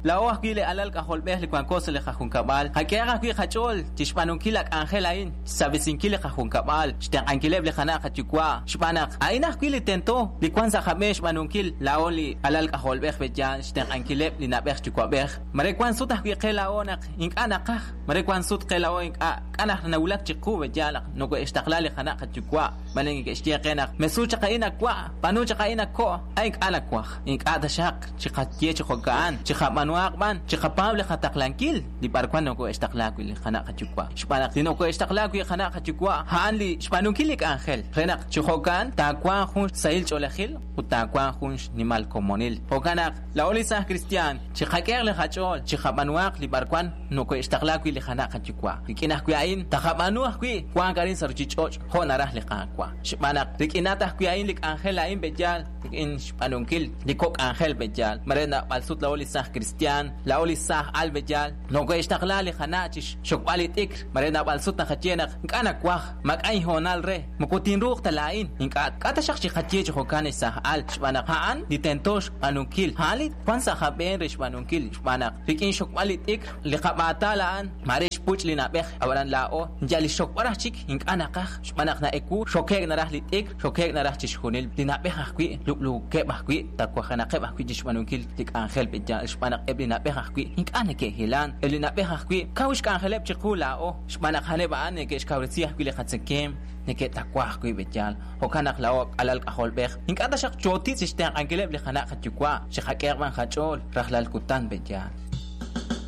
Laa'o ajwi' li alal k'ajolb'ej li wanko sa' li qajunkab'al, qak'ehaq ajwi' qach'ool chi xb'aanunkil la k'anjel a'in, xsaab'esinkil li qajunkab'al, xtenq'ankileb' li qana' qayuwa', xb'aan naq a'in ajwi' li tento li wank sa' qab'een xb'aanunkil laa'o li alal k'ajolb'ej b'eyaal xtenq'ankileb' li na'b'ej yuwa'b'ej. Mare wank sut ajwi' qe laa'o naq ink'a' naqaj, mare wank sut qe laa'o ink'a' k'a' naq nawulak chiqu b'eyaal naq nokohe'xtaqla li qana' qayuwa', mare neke'xye qe naq mesu chaq a'in a wa', b'aanu chaq a'in a ko', a' ink'a' nawaj, ink'a' taxaq chiqaye chi jo'ka'an, chiqab'aanuhaq b'an, chiqapaab' li qataqlankil li b'arwan nokohe'xtaqla wi' li qana' qayuwa'. Xb'aan naq li nokohe'xtaqla wi' qana' qayuwa' a'an li xb'aanunkil li k'anjel, re naq chi jo'ka'an taawanq jun xsahil ch'oolejil ut taawanq jun xnimal komonil. Jo'kan naq laa'o li saaj kristiaan, chiqak'ehaq li qach'ool, chiqab'aanuhaq li b'arwan nokohe'xtaqla wi' li qana' qayuwa'. Rik'in ajwi' a'in taqab'aanu ajwi' wank arin sa' ruchich'och' jo' naraj li Qaawa'. Xb'aan naq rik'inat ajwi' a'in li k'anjel a'in b'eyaal, rik'in xb'aanunkil li kok' k'anjel b'eyaal, mare naab'al sut laa'o li saaj kristiaan, laa'o li saaj al b'eyaal, nokohe'xtaqla li qana' chi xxokb'al li t'ikr, mare naab'al sut naqaye naq ink'a' nawaj, maak'a' inhoonal re, moko tinruuq ta laa'in, ink'a' k'a' taxaq chiqaye chi jo'kan ex saaj al, xb'aan naq a'an li tento xb'aanunkil, a'an li wank sa' qab'een re xb'aanunkil, xb'aan naq rik'in xxokb'al li t'ikr, li qab'aatal a'an mare xpuch' li na'b'ej, ab'anan laa'o yal li xxokb'al raj chik ink'a' naqaj, xb'aan naq na'ewu xoke'k naraj li t'ikr, xoke'k naraj chixjunil li na'b'ej ajwi', lub'luukeb' ajwi', tawajenaqeb' ajwi' chi xb'aanunkil li k'anjel b'eyaal, xb'aan naq eb' li na'b'ej ajwi' ink'a' neke'hilank, eb' li na'b'ej ajwi' kaw xk'anjeleb' chiqu laa'o, xb'aan naq a'aneb' a'an neke'xkawresi ajwi' li qatzekemq, neke'tawa ajwi' b'eyaal. Jo'kan naq laa'o alal k'ajolb'ej ink'a' taxaq chootitz' chi xtenq'ankileb' li qana' qayuwa', chiqak'ehaq b'an qach'ool rajlal kutan b'eyaal.